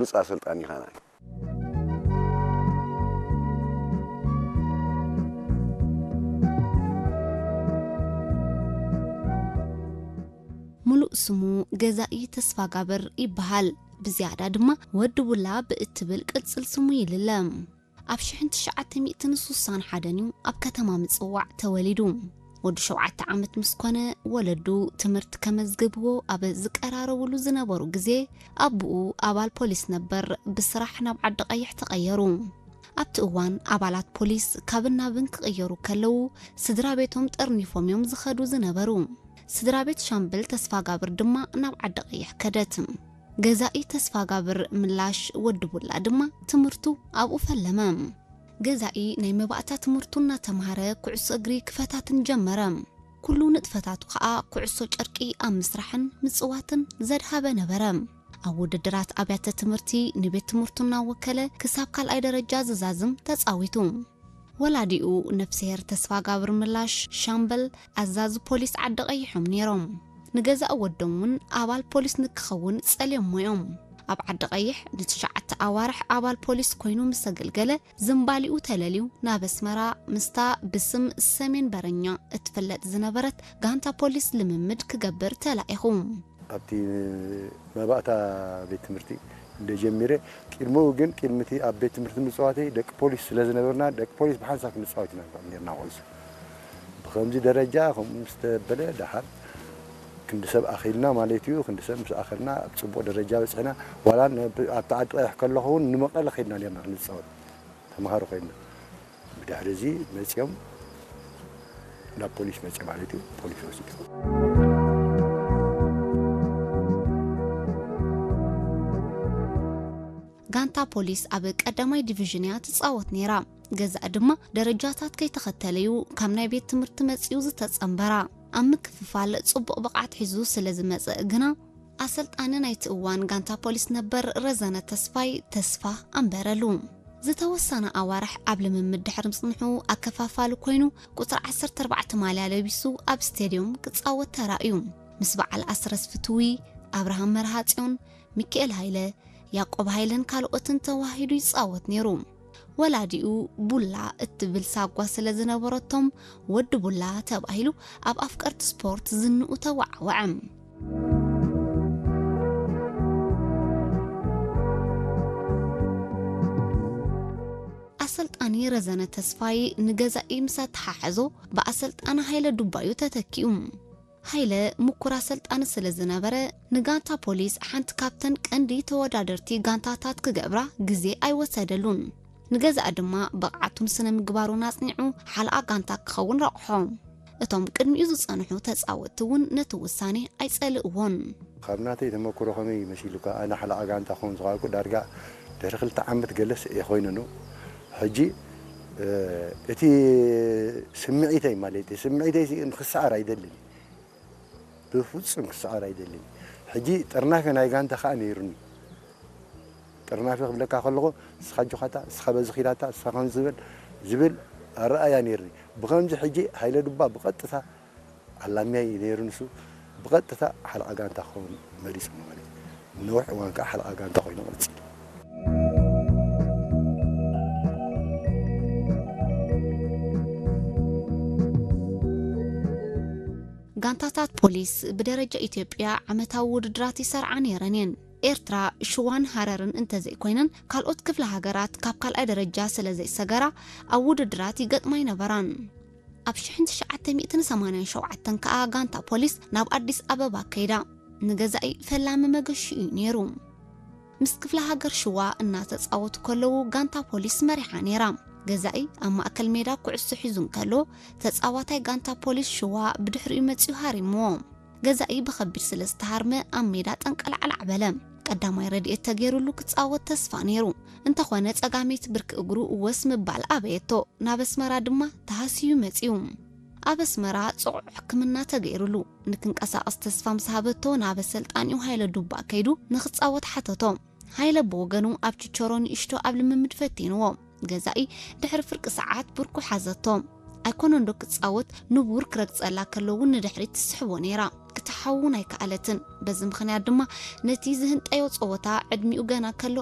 ብሉጽ ኣሰልጣኒ ኢኻ። ሙሉእ ስሙ ገዛኢ ተስፋጋብር ይበሃል። ብዝያዳ ድማ ወዲ ቡላ ብእትብል ቅጽል ስሙ ይልለ። ኣብ ሽሕን ትሽዓተ ሚእትን ስሳን ሓደን እዩ ኣብ ከተማ ምጽዋዕ ተወሊዱ። ወዲ ሸውዓተ ዓመት ምስ ኮነ፣ ወለዱ ትምህርቲ ከመዝግብዎ ኣብ ዝቀራረብሉ ዝነበሩ ግዜ፣ ኣቦኡ ኣባል ፖሊስ ነበር፣ ብስራሕ ናብ ዓዲ ቀይሕ ተቐየሩ። ኣብቲ እዋን ኣባላት ፖሊስ ካብን ናብን ክቕየሩ ከለዉ፣ ስድራ ቤቶም ጠርኒፎም እዮም ዝኸዱ ዝነበሩ። ስድራ ቤት ሻምበል ተስፋጋብር ድማ ናብ ዓዲ ቀይሕ ከደት። ገዛኢ ተስፋጋብር ምላሽ ወዲ ቡላ ድማ ትምህርቱ ኣብኡ ፈለመ። ገዛኢ ናይ መባእታ ትምህርቱ እናተምሃረ ኩዕሶ እግሪ ክፈታትን ጀመረ። ኩሉ ንጥፈታቱ ከኣ ኩዕሶ ጨርቂ ኣብ ምስራሕን ምጽዋትን ዘድሃበ ነበረ። ኣብ ውድድራት ኣብያተ ትምህርቲ ንቤት ትምህርቱ እናወከለ ክሳብ ካልኣይ ደረጃ ዝዛዝም ተጻዊቱ። ወላዲኡ ነፍስሄር ተስፋጋብር ምላሽ ሻምበል ኣዛዚ ፖሊስ ዓዲ ቀይሖም ነይሮም። ንገዛእ ወዶም እውን ኣባል ፖሊስ ንክኸውን ጸልዮሞ እዮም። ኣብ ዓዲ ቀይሕ ንትሽዓተ ኣዋርሕ ኣባል ፖሊስ ኮይኑ ምስ ኣገልገለ፣ ዝምባሊኡ ተለልዩ ናብ ኣስመራ ምስታ ብስም ሰሜን በረኛ እትፍለጥ ዝነበረት ጋንታ ፖሊስ ልምምድ ክገብር ተላኢኹ። ኣብቲ መባእታ ቤት ትምህርቲ እንደ ጀሚረ፣ ቅድሚኡ ግን፣ ቅድሚ እቲ ኣብ ቤት ትምህርቲ ምጽዋተይ፣ ደቂ ፖሊስ ስለ ዝነበርና፣ ደቂ ፖሊስ ብሓንሳብ ክንጻወት ኢና ንውዕል ነርና ኩዕሶ። ብኸምዚ ደረጃ ከምኡ ምስ ተበለ፣ ደሓር ክንዲ ሰብ ኣኺልና ማለት እዩ። ክንዲ ሰብ ምስ ኣኸልና፣ ኣብ ጽቡቕ ደረጃ በጺሕና። ዋላ ን-፣ ኣብቲ ዓዲ ቀይሕ ከለኹ እውን ንመቐለ ኸይድና ነርና ክንጻወት፣ ተምሃሮ ኮይንና። ብድሕሪ እዚ መጺኦም ናብ ፖሊስ መጺኦም ማለት እዩ፣ ፖሊስ ወሲድዎም። ጋንታ ፖሊስ ኣብ ቀዳማይ ዲቪዥን እያ ትጻወት ነይራ። ገዛእ ድማ ደረጃታት ከይተኸተለ እዩ ካብ ናይ ቤት ትምህርቲ መጺኡ ዝተጸንበራ። ኣብ ምክፍፋል ጽቡቕ ብቕዓት ሒዙ ስለ ዝመጽእ ግና፣ ኣሰልጣኒ ናይቲ እዋን ጋንታ ፖሊስ ነበር ረዘነ ተስፋይ ተስፋ ኣንበረሉ። ዝተወሰነ ኣዋርሕ ኣብ ልምምድ ድሕሪ ምጽንሑ፣ ኣከፋፋሊ ኮይኑ ቁጽሪ ዓሰርተ ኣርባዕተ ማልያ ለቢሱ ኣብ ስቴድዮም ክጻወት ተራእዩ። ምስ በዓል ኣስረስ ፍትዊ፣ ኣብርሃም መርሃጽዮን፣ ሚካኤል ሃይለ፣ ያቆብ ሃይለን ካልኦትን ተዋሂዱ ይጻወት ነይሩ። ወላዲኡ ቡላ እትብል ሳጓ ስለ ዝነበረቶም፣ ወዲ ቡላ ተባሂሉ ኣብ ኣፍቀርቲ ስፖርት ዝንኡ ተወዓወዐ። ኣሰልጣኒ ረዘነ ተስፋይ ንገዛኢ ምስ ኣተሓሐዞ፣ ብኣሰልጣኒ ሃይለ ዱባዩ ተተኪኡ። ሃይለ ምኩር ኣሰልጣኒ ስለ ዝነበረ፣ ንጋንታ ፖሊስ ሓንቲ ካብተን ቀንዲ ተወዳደርቲ ጋንታታት ክገብራ ግዜ ኣይወሰደሉን። ንገዛእ ድማ ብቕዓቱን ስነ ምግባሩን ኣጽኒዑ ሓለቓ ጋንታ ክኸውን ረቑሖ። እቶም ቅድሚኡ ዝጸንሑ ተጻወትቲ እውን ነቲ ውሳኔ ኣይጸልእዎን። ካብ ናተይ ተመክሮ ከመይ መሲሉካ፣ ኣነ ሓለቓ ጋንታ ክኸውን ዝኸኣልኩ ዳርጋ ድሕሪ ክልተ ዓመት ገለስ እየ ኮይኑ ነው። ሕጂ፣ እ፣ እቲ ስምዒተይ ማለት እዩ፣ ስምዒተይ ሲ-፣ ንክሰዓር ኣይደልን። ብፍጹም ክሰዓር ኣይደልን። ሕጂ ጥርናፈ ናይ ጋንታ ከኣ ነይሩኒ። ጥርናፈ ክብለካ ከለኹ፣ ንስኻ ጆኻታ፣ ንስኻ በዚ ኺዳታ፣ ንስኻ ከምዚ ዝበል ዝብል ኣረኣእያ ነይሩኒ። ብኸምዚ ሕጂ ሃይለ ዱባ ብቐጥታ ኣላምያይ ነይሩ ንሱ፣ ብቐጥታ ሓለቓ ጋንታ ክኸውን መሪጹ ማለት እዩ። ነዊሕ እዋን ከኣ ሓለቓ ጋንታ ኮይኑ ቀጺሉ። ጋንታታት ፖሊስ ብደረጃ ኢትዮጵያ ዓመታዊ ውድድራት ይሰርዓ ነይረን እየን። ኤርትራ ሽዋን ሃረርን እንተዘይኮይነን፣ ካልኦት ክፍለ ሃገራት ካብ ካልኣይ ደረጃ ስለ ዘይሰገራ፣ ኣብ ውድድራት ይገጥማ ኣይነበራን። ኣብ ሽሕን ትሽዓተ ሚእትን ሰማንያን ሸውዓተን ከኣ ጋንታ ፖሊስ ናብ ኣዲስ ኣበባ ከይዳ። ንገዛኢ ፈላሚ መገሺ እዩ ነይሩ። ምስ ክፍለ ሃገር ሽዋ እናተጻወቱ ከለዉ ጋንታ ፖሊስ መሪሓ ነይራ። ገዛኢ ኣብ ማእከል ሜዳ ኩዕሶ ሒዙ እንከሎ፣ ተጻዋታይ ጋንታ ፖሊስ ሽዋ ብድሕሪኡ መጺኡ ሃሪምዎ። ገዛኢ ብኸቢድ ስለ ዝተሃርመ ኣብ ሜዳ ጠንቀልዓላዕ በለ። ቀዳማይ ረድኤት ተገይሩሉ ክጻወት ተስፋ ነይሩ። እንተኾነ ጸጋመይቲ ብርኪ እግሩ ወስ ምባል ኣበየቶ። ናብ ኣስመራ ድማ ተሃስዩ መጺኡ። ኣብ ኣስመራ ጽዑቕ ሕክምና ተገይሩሉ። ንክንቀሳቐስ ተስፋ ምስ ሃበቶ ናብ ኣሰልጣኒኡ ሃይለ ዱባ ከይዱ ንክጻወት ሓተቶ። ሃይለ ብወገኑ ኣብ ችቸሮ ንእሽቶ ኣብ ልምምድ ፈቲንዎ። ገዛኢ ድሕሪ ፍርቂ ሰዓት ብርኩ ሓዘቶ። ኣይኮነንዶ ክጻወት ንቡር ክረግጸላ ከሎ እውን ንድሕሪት ትስሕቦ ነይራ። ክትሓውን ኣይከኣለትን። በዚ ምኽንያት ድማ ነቲ ዝህንጠዮ ጸወታ ዕድሚኡ ገና ከሎ